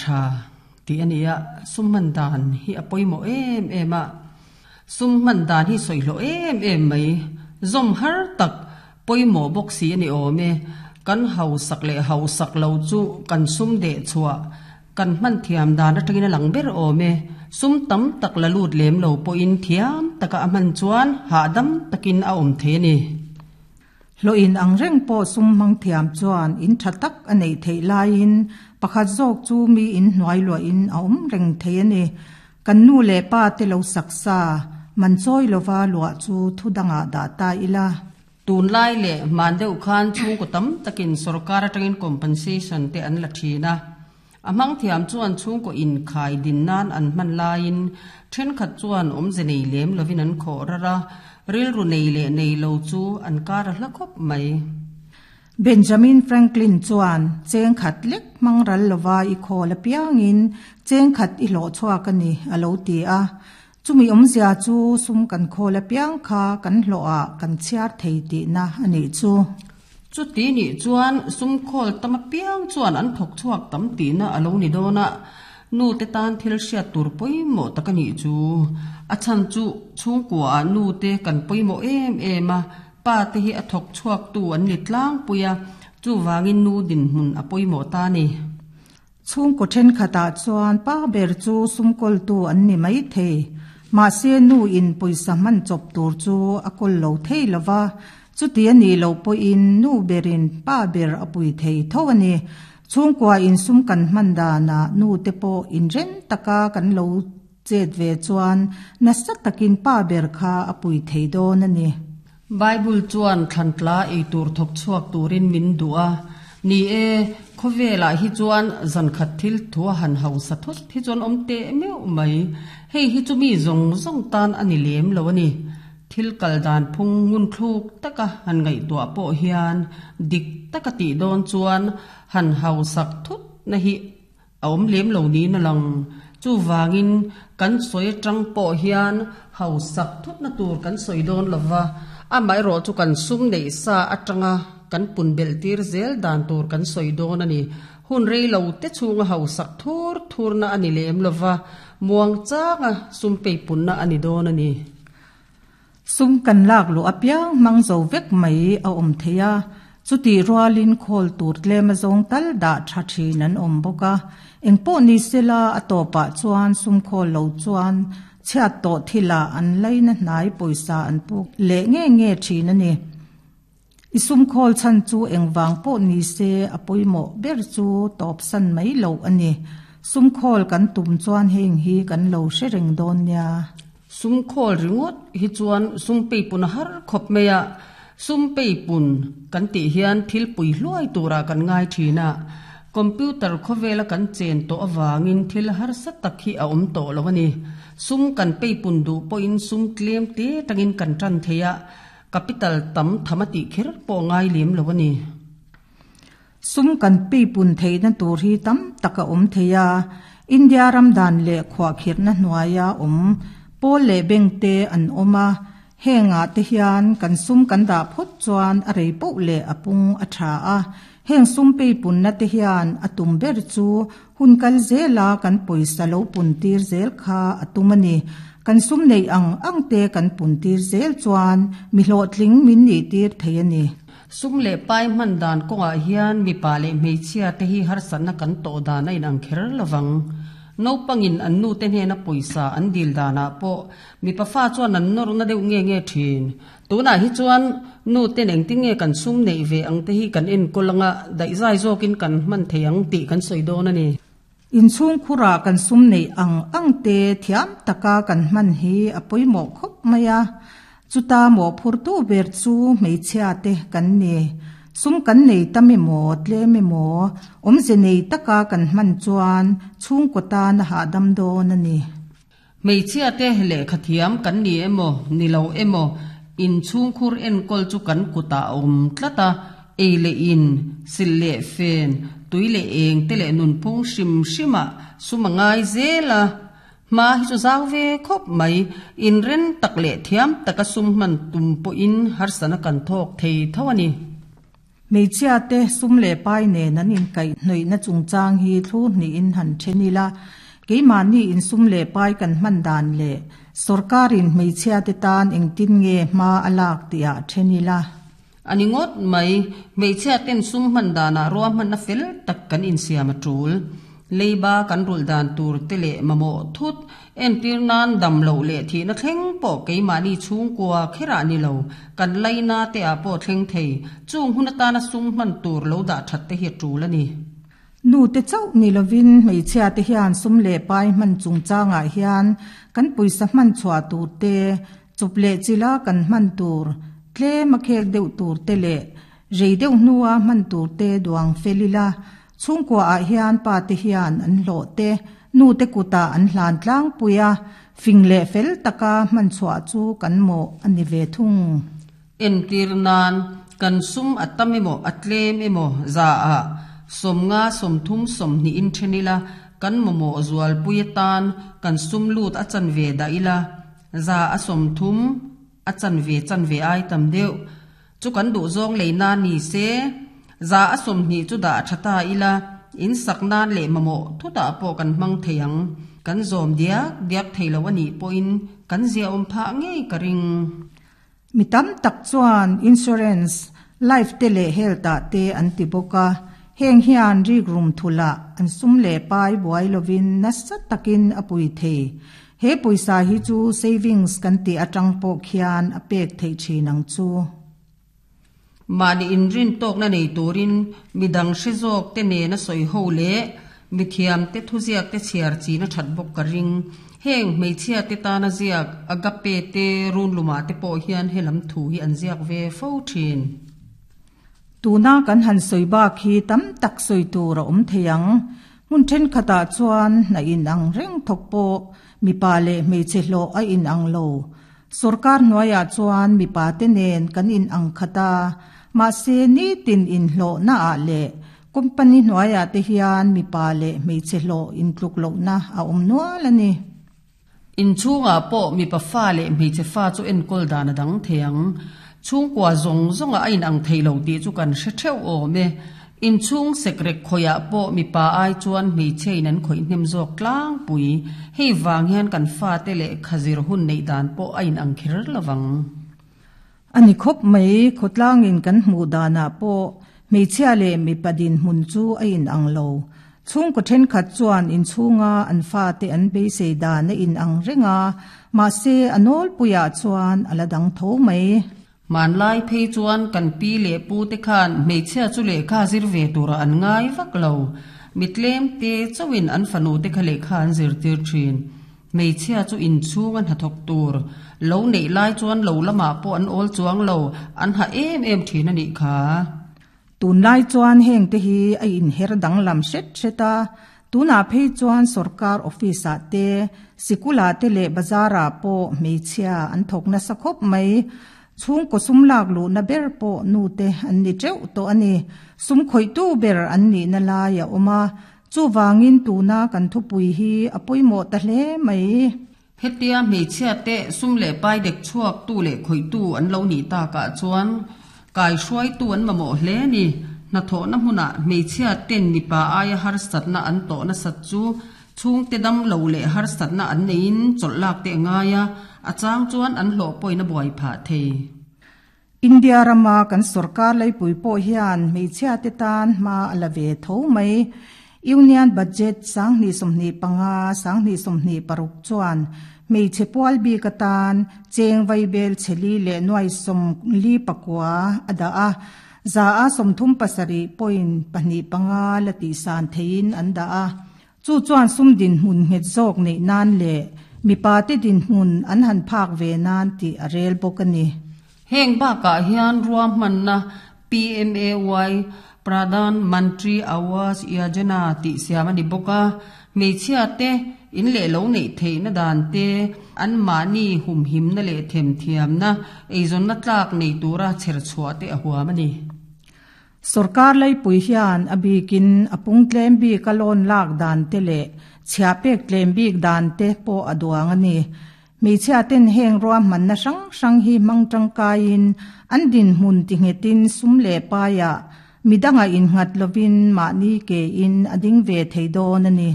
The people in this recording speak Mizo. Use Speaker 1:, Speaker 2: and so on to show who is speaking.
Speaker 1: tha tih a ni a, sum hman dan hi a pawimawh em em a. Sum hman dan hi sawi hlawh em em mai. Zawm har tak pawimawh bawk si a ni awm e. Kan hausak leh hausak lo chu kan sum deh chhuah kan hman thiam dan atangin a lang ber awm e. Sum tam tak la lut lem lo pawhin thiam taka a hman chuan hahdam takin a awm thei a ni.
Speaker 2: Hlawh in ang reng pawh sum hmang thiam chuan in tha tak a neih theih laiin pakhat zawk chu mi in hnuai luahin a awm reng thei a ni. Kan nu leh pa te lo sak sa, man chawi lova luah chu thu dangah dah ta ila.
Speaker 1: Tunlai leh hman deuh khan chhungkaw tam takin sorkar atangin compensation te an la thin a. A hmang thiam chuan chhungkaw inkhai din nan an hman laiin thenkhat chuan awmze nei lem lovin an khawh rar a, rilru nei leh nei lo chu an kar a hla khawp mai.
Speaker 2: Benjamin Franklin chuan, Cheng khat lek hmang ral lova i khawl apiangin cheng khat i hlawh chhuak a ni, a lo ti a. Chumi awmzia chu sum kan khawl apiang kha kan hlawhah kan chhiar thei tihna a nih chu.
Speaker 1: Chuti nih chuan sum khawl tam apiang chuan an thawk chhuak tam tihna a lo ni dawn a, nute tan thil hriat tur pawimawh tak a nih chu. A chhan chu chhungkuaah nute kan pawimawh em em a, pa te hi a thawk chhuaktu an ni tlangpui a, chuvangin nu dinhmun a pawimawh ta a ni.
Speaker 2: Chhungkaw thenkhatah chuan pa ber chu sumkawltu an ni mai thei. Mahse nu in pawisa hman chawp tur chu a kawl lo thei lo va, chuti a nih loh pawhin nu berin pa ber a pui thei tho a ni. Chhungkua in sum kan hman danah nu te pawh inren taka kan lo chet ve chuan nasa takin pa ber kha a pui thei dawn a ni.
Speaker 1: Bible chuan thlantla ei tur thawk chhuak turin min duh a. Ni e, khawvelah hi chuan zankhat thil thu a han hausa thut hi chuan awm teh meuh mai. Hei hi chu mi zawng zawng tan a ni lem lo a ni. Thil kal dan phung ngun thluk taka han ngaihtuah pawh hian dik taka tih dawn chuan han hausak thut na hi A awm lem lo niin a lang. Chuvangin kan sawi atang pawh hian hausak thutna tur kan sawi dawn lo va, amaherawh chu kan sum neih sa atanga kan pun belh tir zel dan tur kan sawi dawn a ni. Hun rei lo te chhunga hausak thur thurna a ni lem lo va, muang changa sum peipunna a ni dawn a ni.
Speaker 2: Sum kan lak luh apiang hmang zo vek mai a awm thei a, chutih rualin khawl tur tlem a zawng tal dah tha thin an awm bawk a. Engpawh ni sela a tawpah chuan sum khawl lo chuan chhiat tawh thilah an laina hnai pawisa an puk leh nge nge thin a ni. I sum khawl chhan chu engvang pawh ni se a pawimawh ber chu tawpsan mai loh a ni. Sum khawl kan tum chuan heng hi kan lo hre reng dawn nia.
Speaker 1: Sum khawl ringawt hi chuan sum peipun a har khawp mai a, sum peipun kan tih hian thil pui hluai turah kan ngai thin a, computer khawvela kan chen tawh avangin thil harsa tak hi a awm tawh lo a ni. Sum kan peipun duh pawhin sum tlem te tangin kan tan thei a, capital tam tham a tih kher pawh ngai lem lo a ni.
Speaker 2: Sum kan peipun theihna tur hi tam tak a awm thei a, India ram dan leh khuahkhirhna hnuaia awm pawl leh bank te an awm a, hengah te hian kan sum kan dah phawt chuan a rei poh leh a pung a tha a, heng sum peipunna te hian a tum ber chu hun kal zela kan pawisa lo pun tir zel kha a tum a ni. Kan sum neih ang ang te kan pun tir zel chuan mi hlawhtling min nih tir thei a ni.
Speaker 1: Sum leh pai hman dan kawngah hian mipa leh hmeichhia te hi harsatna kan tawh dan a inang kher lovang. Naupangin an nu te hnena pawisa an dil danah pawh mipa fa chuan an nawrna deuh nge nge thin. Tunah hi chuan nu ten engtin nge kan sum neih ve ang te hi kan enkawl anga daihzai zawkin kan hman thei ang tih kan sawi dawn a ni.
Speaker 2: Inchhungkhurah kan sum neih ang ang te thiam taka kan hman hi a pawimawh khawp mai a, chuta mawhphurtu ber chu hmeichhia te kan ni. Sum kan nei tam emaw tlem emaw awmze nei taka kan hman chuan chhungkaw tan a hahdam dawn a ni.
Speaker 1: Hmeichhia te lehkha thiam kan ni emaw ni lo emaw inchhungkhur enkawl chu kan kutah a awm tlat a, ei leh in, silh leh fen, tui leh eng te leh nunphung hrim hrimah sum a ngai zel a, hma hi chu zau ve khawp mai, inren tak leh thiam taka sum hman tum pawhin harsana kan thawk thei tho a ni.
Speaker 2: Hmeichhia te sum leh pai nen an inkaihhnawihna chungchang hi thlur hnihin han then ila, keimahni in sum leh pai kan hman dan leh sorkarin hmeichhia te tan engtin nge hma a lak tihah then ila.
Speaker 1: A ni ngawt mai, hmeichhia ten sum hman danah ruahmanna fel tak kan insiam a tul. Leiba kan rulh dan tur te leh mamawh thut entir nan dam loh leh thihna thleng pawh keimahni chhungkua kherah ni lo, kan laina te ah pawh thleng thei. Chung hun atana sum hman tur lo dah that te hi a tul a ni.
Speaker 2: Nu te chauh ni lovin hmeichhia te hian sum leh pai hman chungchangah hian kan pawisa hman chhuah tur te, Chawp leh chila kan hman tur, tlem a khek deuh tur te leh rei deuh hnua hman tur te duang fel ila, chhungkua ah hian pa te hian an hlawh te, nu te kutah an hlan tlangpui a, fing leh fel taka hman chhuah chu kan mawh a ni ve thung.
Speaker 1: Entir nan, kan sum a tam emaw a tlem emaw za ah 50 30 20 in then ila, kan mamawh zualpui atan kan sum lut a chanve dah ila, 30% a chanve chanve ai tam deuh chu kan duh zawng lei nan ni se, 20% chu dah tha ta ila, in sak nan leh mamawh thutah pawh kan hmang thei ang. Kan zawm diak diak thei lo a nih pawhin kan ziaawm phah ngei ka ring.
Speaker 2: Mi tam tak chuan insurance, life te leh health ah te an ti bawk a, heng hian rikrum thulah an sum leh pai buai lovin nasa takin a pui thei. He pawisa hi chu savings kan tih atang pawh khian a pek theih thin ang chu.
Speaker 1: Mahni inrin tawkna nei turin midang hre zawk te nena sawi ho leh mithiam te thuziak te chhiar chin a that bawk ka ring. Heng hmeichhia te tana ziak Agape te runlumah te pawh hian helam thu hi an ziak ve fo thin.
Speaker 2: Tuna kan han sawi bak hi tam tak sawi tur a awm thei ang. Hmun thenkhatah chuan hna inang reng thawk pawh mipa leh hmeichhe hlawh a inang lo. Sorkar hnuaiah chuan mipa te nen kan inang khat a, mahse nitin inhlawhnaah leh company hnuaiah te hian mipa leh hmeichhe hlawh intluk lohna a awm nual a ni.
Speaker 1: Inchhungah pawh mipa fa leh hmeichhe fa chu enkawl dan a dang thei ang. Chhungkua zawng zawngah a inang thei lo tih chu kan hre theuh awm e. Inchhung sekrek khawiah pawh mipa ai chuan hmeichhia in an khawih hnem zawk tlangpui. Hei vang hian kan fate leh khazir hun neih dan pawh a inang kher lovang.
Speaker 2: A ni khawp mai, khawtlangin kan hmuh danah pawh hmeichhia leh mipa dinhmun chu a inang lo. Chhungkaw thenkhat chuan inchhunga an fate an beisei dan a inang reng a, mahse a nawlpuiah chuan a la dang tho mai.
Speaker 1: Hmanlai phei chuan kan pi leh pu te khan hmeichhia chu lehkha zir ve turah an ngai vak lo. Mi tlem te chauhin an fanu te kha lehkha an zirtir thin. Hmeichhia chu inchhung a hnathawk tur lo neih lai chuan lo lamah pawh an awl chuang lo, an ha em em thin a nih kha.
Speaker 2: Tunlai chuan heng te hi a inher danglam hret hret a, tunah phei chuan sorkar office ah te, sikul ah te leh bazar ah pawh hmeichhia an thawk nasa khawp mai. Chhungkaw sum lak luhna ber pawh nu te an ni teuh tawh a ni. Sum khawihtu ber an nihna lai a awm a, Chuvangin tuna kan thupui hi a pawimawh ta hle mai.
Speaker 1: Hetia hmeichhia te sum leh pai dek chhuaktu leh khawihtu an lo nih takah chuan kaihruaitu an mamawh hle a ni. Hnathawhna hmunah hmeichhia ten mipa aia harsatna an tawh nasat chu chhungte dam lo leh harsatna an neiin chawlh lak te a ngai a, a chang chuan an hlawh pawhin a buai phah thei.
Speaker 2: India rama kan sorkar leipui pawh hian hmeichhia te tan hma a la ve tho mai. Union Budget 2025, 2026 chuan hmeichhe pual bik atan cheng vaibel chheli leh nuai 44 a dah a, 37.25% la tihsan theiin an dah a. Chu chuan sum dinhmun nghet zawk neih nan leh mipa te dinhmun an han phak ve nan tih a rel bawk a ni.
Speaker 1: Heng bakah hian ruahmanna PMAY, Pradhan Mantri Awas Yojana, tih siam a ni bawk a, hmeichhia te in leh lo neih theihna dan te, anmahni humhimna leh themthiamna eizawnna tlak nei tura chherchhuah te a huam a ni.
Speaker 2: Sorkar leipui hian a bikin a pung tlem bik a loan lak dan te leh chhiah pek tlem bik dan te pawh a duang a ni. Hmeichhia ten heng ruahmanna hrang hrang hi hmang tangkaiin an dinhmun tinghetin sum leh paiah midanga innghat lovin mahni ke in a ding ve thei dawn a ni.